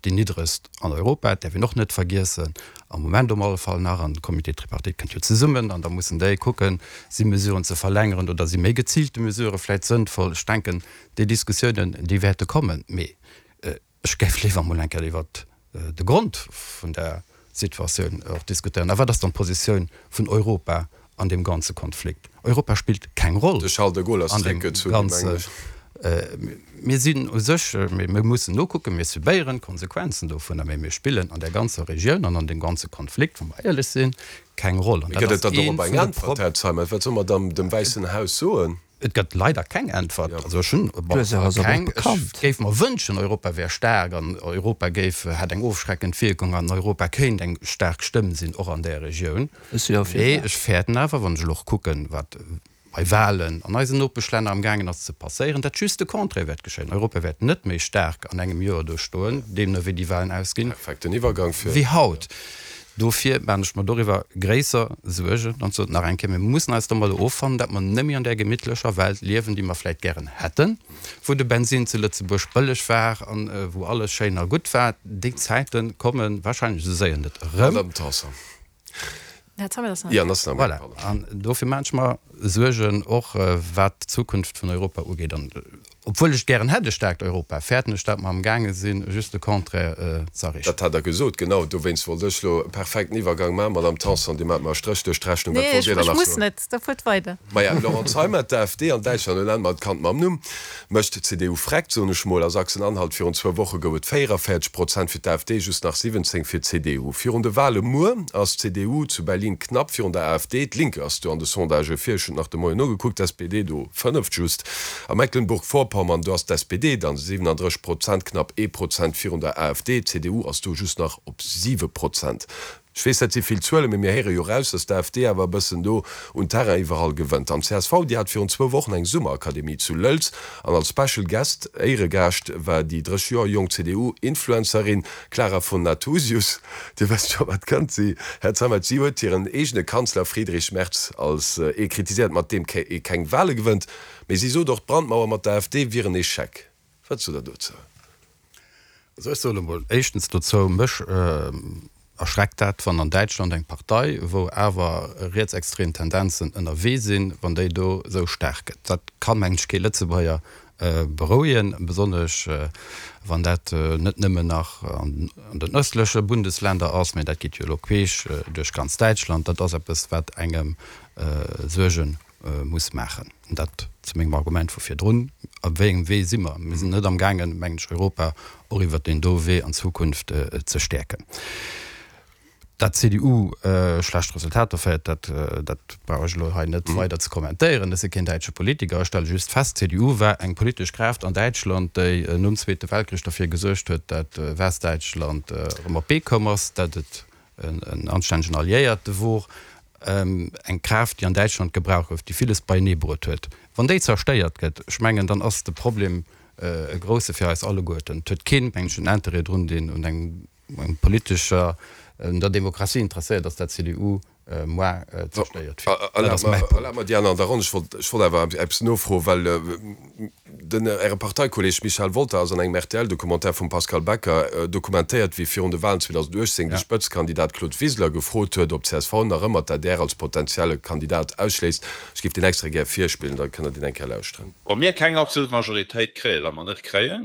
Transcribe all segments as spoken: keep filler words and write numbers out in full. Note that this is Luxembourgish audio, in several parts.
déi niddregst an Europa, dat däerf een och net vergiessen, am Moment op alle Fall nach. An de Comité tripartite kënnt jo zesummen an da mussen déi kucken, si Mesuren ze verlängeren oder si méi geziilte Mesurë vläicht sënnvoll. Ech denken, déi Diskussiounen, déi wäerte kommen. Mee ech géif léiwer emol eng Kéier iwwert de Grond vun der Situatioun och diskutéieren. A wat ass dann d'Positioun vun Europa an deem ganze Konflikt? Europa spillt keng Roll an deem ganze. Mir sinn u sech, mir mussen nokucken, mir subéieren d'Konsequenzen dovunner, mä mir spillen an där ganzer Regioun an an deem ganze Konflikt, wa mer éierlech sinn, keng Roll. An dat ass ee vun de Prob. Et gëtt leider keng Äntwert. Also ech hunn keng. Ech géif mer wënschen, Europa wär staark an Europa géif, hätt eng ofschreckend Wierkung an Europa kéint eng staark Stëmm sinn, och an där Regioun. Mee ech fäerten awer, wann ech elo och kucken, wat bei Wahlen an eisen Nopeschlänner am gaangen ass ze passéieren, datt just de Contraire wäert geschéien. Europa wäert net méi staark an engem Joer do stoen, deemno wéi déi Wahlen ausginn, wéi haut. Dofir maachen ech mer doriwwer gréisser Suergen. An sot nach eng Kéier, mir mussen eis domadder offannen, datt mer net méi an där gemittlecher Welt liewen, déi mer vläicht gären hätten, wou de Bensin zu Lëtzebuerg bëlleg war an wou alles schéin a gutt war. Déi Zäite komme wahrscheinlech esou séier net erëm. Voilà. An dofir maachen ech mer Suergen, och wat d'Zukunft vun Europa ugeet. An obwuel ech gären hätt e staarkt Europa, fäerten ech, datt mer amgaange sinn, just de Contraire ze erreechen. Dat hat Der gesot, genau. Dowéinst wollt ech elo e perfekten Iwwergang maachen. Madamm Tanson, Dir maacht mer e Stréch duerch d'Rechnung. Wat Nee, wollt Dir ech dann nach muss soen? net. Da fuert weider. Maja, Laurent Zeimet, d'AfD an Däitschland, elo nenne mer d'Kand mam Numm, mécht d'CDU vreckt, soen ech mol. A Sachsen-Anhalt virun zwou Woche gouf et véierundzwanzeg Prozent fir d'AfD, just nach siwwenzéng fir d'CDU. Virun de Wale muer ass d'CDU zu Berlin knapp virun der AfD. D'Linke ass do an de Sondagë vir, ech hunn et nach de Moien nogekuckt, d'SPD do fënneft just. A Mecklenburg-Vorpommern, do ass d'SPD dann siwenandrësseg Prozent, knapp ee Prozent virun der AfD. D'CDU ass do just nach op siwe Prozent. Ech weess, dat si vill Zuelen, mee mir héiere jo raus, datt d'AfD awer e bëssen do un Terrain iwwerall gewënnt. An d'CSV, déi hat virun zwou Wochen eng Summerakademie zu Lëlz an als Special Guest, Éieregaascht, war déi drësseg Joer jonk CDU-Influencerin Clara von Nathusius. Dir wësst scho, wat kënnt. Si, Här Zeimet, si huet hiren eegene Kanzler Friedrich Merz als ee kritiséiert, mat deem ee keng Wale gewënnt. Mee si sot och, d'Brandmauer mat der AfD wier en Echec. Wat sot Der dozou? Also ech soen emol éischtens dozou, mech erschreckt dat, wann an Däitschland eng Partei, wou awer rietsextrem Tendenzen ënnerwee sinn, wann déi do esou staark gëtt. Dat ka mengen ech kee Lëtzebuerger berouegen, besonnesch wann dat net nëmmen nach an den ëstleche Bundesländer ass, mä dat geet jo elo queesch duerch ganz Däitschland. Dat ass eppes, wat engem Suerge muss maachen. An dat zu mengem Argument vu virdrun, Op wéi engem Wee si mer? Mir sinn net amgaangen, mengen ech, Europa och iwwert deen do Wee an Zukunft ze stäerken. Dat d'CDU schlecht Resultater féiert, dat dat brauch ech elo hei net weider ze kommentéieren. Ech si keen däitsche Politiker. Ech stelle just fest, d'CDU war eng politesch Kraaft an Däitschland, déi nom Zweete Weltkrich derfir gesuergt huet, dat Westdäitschland erëm op d'Bee koum ass, dat et en anstännegen Alliéierte wor, eng Kraaft, déi an Däitschland gebraucht gouf, déi villes beienee bruet huet. Wann déi zerstéiert gëtt, ech mengen, dann ass de Problem e grousse fir eis alleguerten. Et huet keen, mengen ech, en Interêt drun, deen un engem politescher, un der Demokratie interesséiert ass, dat d'CDU moar zerstéiert wier. Dat ass mäi Punkt. Erlaabt mer déi aner an der Ronn, ech wollt, ech wollt awer eppes nofroen, well den Äre Parteikolleeg Michel Wolter ass an engem R T L-Documentaire vum Pascal Becker dokumentéiert, wéi virun de Wahlen zweedausendachtzéng de Spëtzekandidat Claude Wiseler gefrot huet, ob d'C S V nach ëmmer d'A D R als potenzielle Kandidat ausschléisst. Ech géif deen extra gär virspillen, da kënnt Der deen eng Kéier lauschteren. Wa mir keng absolut Majoritéit kréien, wat mer net kréien,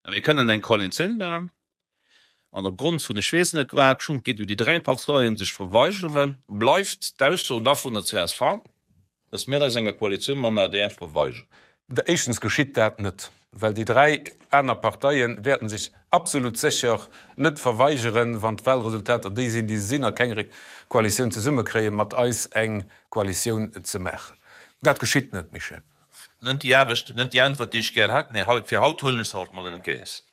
a mir kënnen eng Koalitioun maachen, an opgrond vun ech weess net wat, schonn geet jo déi dräi Parteien sech verweigeren, bleift d'Ausso da vun der C S V, dass mir eis enger Koalitioun mam A D R verweigeren. Éischtens geschitt dat net, well déi dräi aner Parteie wäerten sech absolut sécher net verweigeren, wann d'Wahlresultater déi sinn, déi se sinn, a keng Koalitioun zesummekréien, mat eis eng Koalitioun ze maachen. Dat geschitt net, Michel. Net déi Aarbecht, net déi Äntwert, déi ech gär hätt, mee haut, fir haut huelen ech se halt mol entgéint.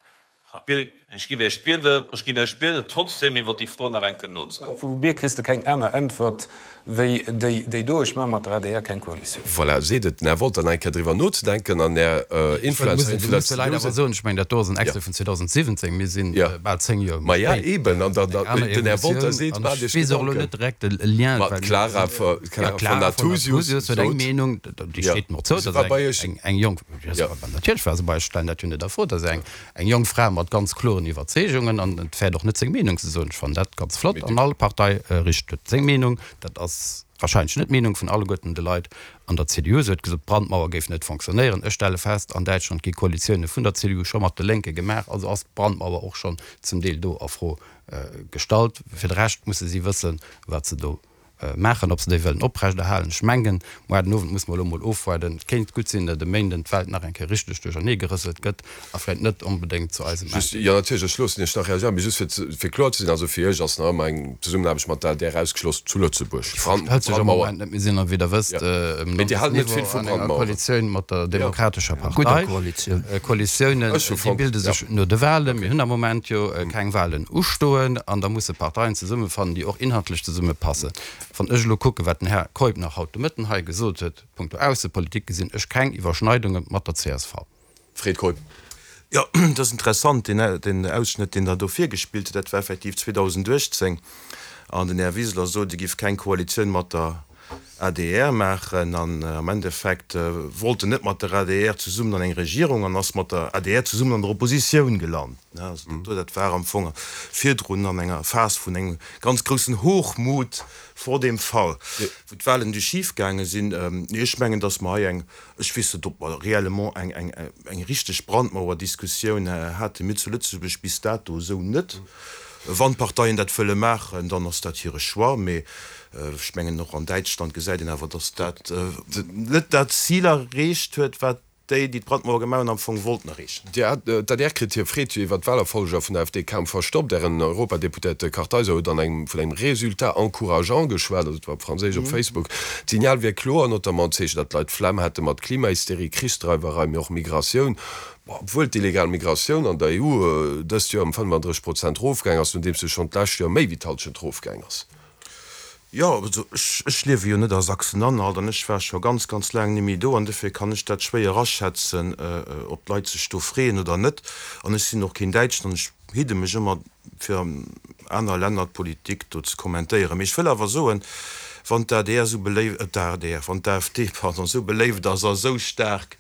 Ech giff Iech bieden, ech ginn Iech bieden, trotzdem iwwer déi Fro nach eng Kéier nozedenken. Vu mir kriss de keng aner Äntwert wéi déi, déi do. Ech maache mat der A D R keng Koalitioun. Voilà, seet et den Här Wolter, nach eng Kéier driwwer nozedenken an Är Influencerin vun der C D U. Ech muss leider awer soen, ech mengen, dat do ass en Extrait vun zweedausendsiwwenzéng, mir si bal zéng Joer méi Maja, spéit. eben, an Eng aner den Här Wolter Evolutioun. seet, An maacht ech Iech weess och elo Gedanken. net direkt de Lien, Ma well d'Clara ja, von d'Clara von Nathusius Nathusius huet eng sot, Meenung, déi jo, steet mer zou, se dat war ass bei Iech, eng, eng jonk, jo. natierlech war se bei ech, stellen dat jo net a Fro, dat ass eng, eng jonk Fra mat mat ganz kloren Iwwerzeegungen an et fäert och net seng Meenung ze soen. Ech fannen dat ganz flott an all Partei richt huet seng Meenung. Dat ass wahrscheinlech net d'Meenung vun alleguerten de Leit an der C D U. Se huet gesot, d'Brandmauer géif net fonctionnéieren. Ech stelle fest, an Däitschland gi Koalitioune vun der C D U scho mat de Lénke gemaach, also ass d'Brandmauer och schonn zum Deel do a Fro gestallt. Fir de Rescht musse si wëssen, wat se do maachen, ob se déi wëllen oprechterhalen. Ech mengen, muer den Owend muss mer elo emol ofwaarden. Et kéint gutt sinn, datt e Méinden d'Welt nach eng Kéier richteg duerchernee gerëselt gëtt a vläicht net onbedéngt zu eisem Just, jo, natierlech, ech loossen Iech nach reagéieren, mee just fir ze, fir kloer ze sinn, also fir Iech ass nach ëmmer eng Zesummenaarbecht mat der A D R ausgeschloss zu Lëtzebuerg. Déi Fro stellt sech am Moment net. Mir sinn, wéi Der wësst, um Mee Dir haalt net vill Landesniveau vu an enger Brandmaueren. Koalitioun mat der Demokratescher Partei. Gudder Koalitioun. Koalitiounen, Ech hu déi fonnt, bilde ja. sech no de Wahlen. Mir hunn am Moment jo keng Wahlen ustoen an da musse Parteien zesummefannen, déi och inhaltlech zesummepassen. Wann ech elo kucken, wat den Här Keup nach haut de Mëtten hei gesot huet punkto Aussepolitik, gesinn ech keng Iwwerschneidunge mat der C S V. Fred Keup. Jo, dat ass interessant, deen Ausschnëtt, deen Der do virgespillt hutt, dat war effektiv zweedausenduechtzéng An den Här Wiseler sot, e giff keng Koalitioun mat der A D R maachen. An am Endeffekt wollt en net mat der A D R zesummen an eng Regierung an ass mat der A D R zesummen an der Oppositioun gelant. Also dat do, dat war am Fong virdrun an enger Phas vun engem ganz groussen Hochmut vor dem Fall, wou d'Wahlen du schif gaange sinn. Nee, ech mengen, datt mer hei eng, ech weess net, ob mer réellement eng, eng, eng richteg Brandmauerdiskussioun hate mir zu Lëtzebuerg bis dato esou net. Wann d'Parteien dat wëlle maachen, dann ass dat hire Choix. Mee ech mengen, och an Däitschland gesäit een awer, datt dat net dat Zil erreecht huet, wat déi, déi d'Brandmauer gemaach hunn, am Fong wollten erreechen. D'A D R kritt hir Freed jo iwwer d'Wahlerfolger vun der A F D kaum verstoppt. Ären Europadeputéierte Kartheiser huet an engem vun engem Résultat encourageant geschwat, also et war op Franséisch op Facebook. D'Signal wier kloer, notamment d'Zeechen, datt d'Leit d'Flemm hätte mat Klimahysterie, Krichsdreiwerei, mee och Migratioun. Obwuel d'illegal Migratioun an der E U dëst Joer ëm fënnefandrësseg Prozent erofgaang ass, nodeems se schonn d'lescht Joer méi wéi d'Hallschent erofgaang ass. Jo, also ech, ech liewe jo net a Sachsen-Anhalt an ech war scho ganz, ganz laang net méi do an dofir kann ech dat schwéier aschätzen, ob d'Leit sech do freeën oder net. An ech sinn och keen Däitschen an ech hidde mech ëmmer fir an aner Länner d'Politik do ze kommentéieren. Mee ech wëll awer soen, wann d'A D R esou beléift, d'A D R, wann d'A F D, pardon, esou beléift ass a esou staark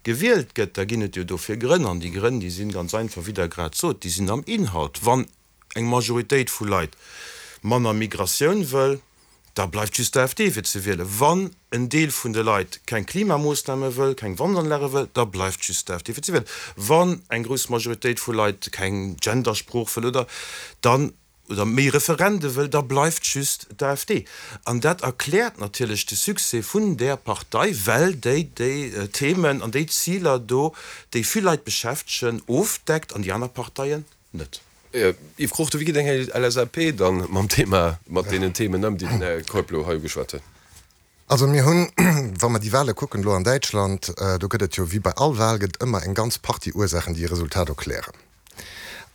gewielt gëtt, da ginn et jo dofir Grënn. An déi Grënn, déi sinn ganz einfach, wéi Der grad sot, déi sinn am Inhalt. Wann eng Majoritéit vu Leit manner Migratioun wëll, da bleift just d'A F D fir ze wielen. Wann en Deel vun de Leit keng Klimamoossname wëll, keng Wandanlage wëll, da bleift just d'A F D fir ze wielen. Wann eng grouss Majoritéit vu Leit keng Gendersprooch wëll oder dann oder méi Referende wëll, da bleift just d'A F D. An dat erkläert natierlech de Succès vun där Partei, well déi déi Themen an déi Ziler do, déi vill Leit beschäftegen, ofdeckt an déi aner Parteien net. Yves Cruchten, wéi geet eng L S A P dann mam Thema, mat deenen Themen ëm, déi den Här Keup elo hei ugeschwat huet? Also mir hunn, wa mer déi Wahle kucken elo an Däitschland, do gëtt et jo wéi bei all Wahl gëtt ëmmer eng ganz Partie Ursaachen, déi e Resultat erklären.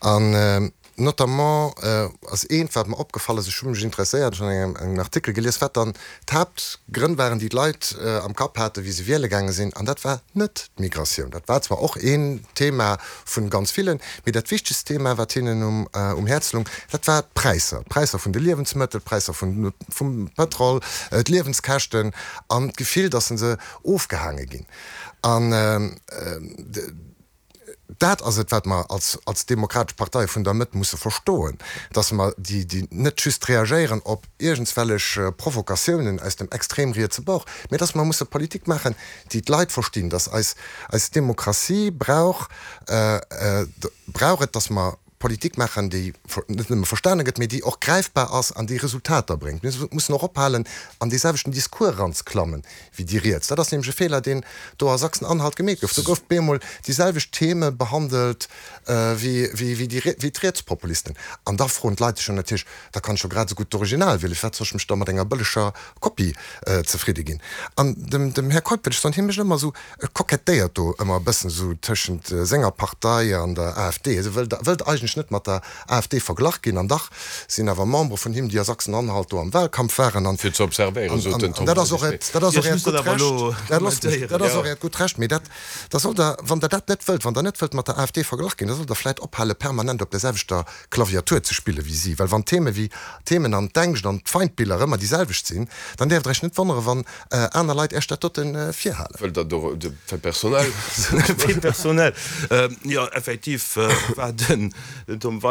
An notamment ass eent, wat mer opgefall ass, ech hu mech interesséiert, ech hunn an engem Artikel gelies, wat dann d'Haaptgrënn waren, déi d'Leit am Kapp haten, wéi se wiele gaange sinn, an dat war net d'Migratioun. Dat war zwar och een Thema vu ganz villen, mee dat wichtegst Thema, wat hinnen um Häerz loung, dat war d'Präisser, d'Präisser vun de Liewensmëttel, d'Präisser vum Pëtrol, d'Liewenskäschten an d'Gefill, datt se ofgehaange ginn. An dat ass et, wat mer als, als Demokratesch Partei vun der Mëtt musse verstoen, dass mer déi, déi net just reagéieren op iergendswellech Provokatiounen aus dem extrem rietse Bord, mä dass mer musse Politik maachen, déi d'Leit verstinn, dass eis, eis Demokratie brauch, brauch et, dass mer Politik maachen, déi net nëmme verstane gëtt, mä déi och gräifbar ass an déi Resultater bréngt. Mir mussen och ophalen, an dee selwechten Discours eranzeklammen wéi déi Riets. Dat ass nämlech e Feeler, deen do a Sachsen-Anhalt gemeet gouf. Do gouf bemol déi selwecht Theme behandelt wéi, wéi, wéi déi, wéi d'Rietspopulisten. An da froen d'Leit sech jo natierlech, Da kann ech jo grad esou gutt d'Original wielen, firwat soll ech mech da mat enger bëlleger Kopie zefridde ginn? An dem, dem Här Keup wëll ech soen, hie mécht ëmmer esou, e kokettéiert do ëmmer e bëssen esou tëschent senger Partei an der A F D. E wëllt, wëllt eigentlech eigentlech net mat der AfD verglach ginn. An dach sinn awer Membere vun him, déi a Sachsen-Anhalt do am Wahlkampf waren. An Fir ze observéieren, sot den Tom dat ass och Weidig. dat ass och Ech Äert muss dat gutt awer Recht. elo Dat loosst mech, kommentéieren. dat ass och Äert gutt Recht. Mee dat, da sollt Der, wann Der dat net wëllt, wann Der net wëllt mat der AfD verglach ginn, da sollt Der vläicht ophale permanent op der selwechter Klaviatur ze spille wéi si. Well wann d'Theme wéi d'Themen an d'Ängscht an d'Feindbiller ëmmer déi selwecht sinn, dann däerft Der Iech net wonnere wann aner Leit Iech dat dote virhalen. Wëllt Der do de Fait personnel? Fait personnel, jo effektiv war den Tom Weidig.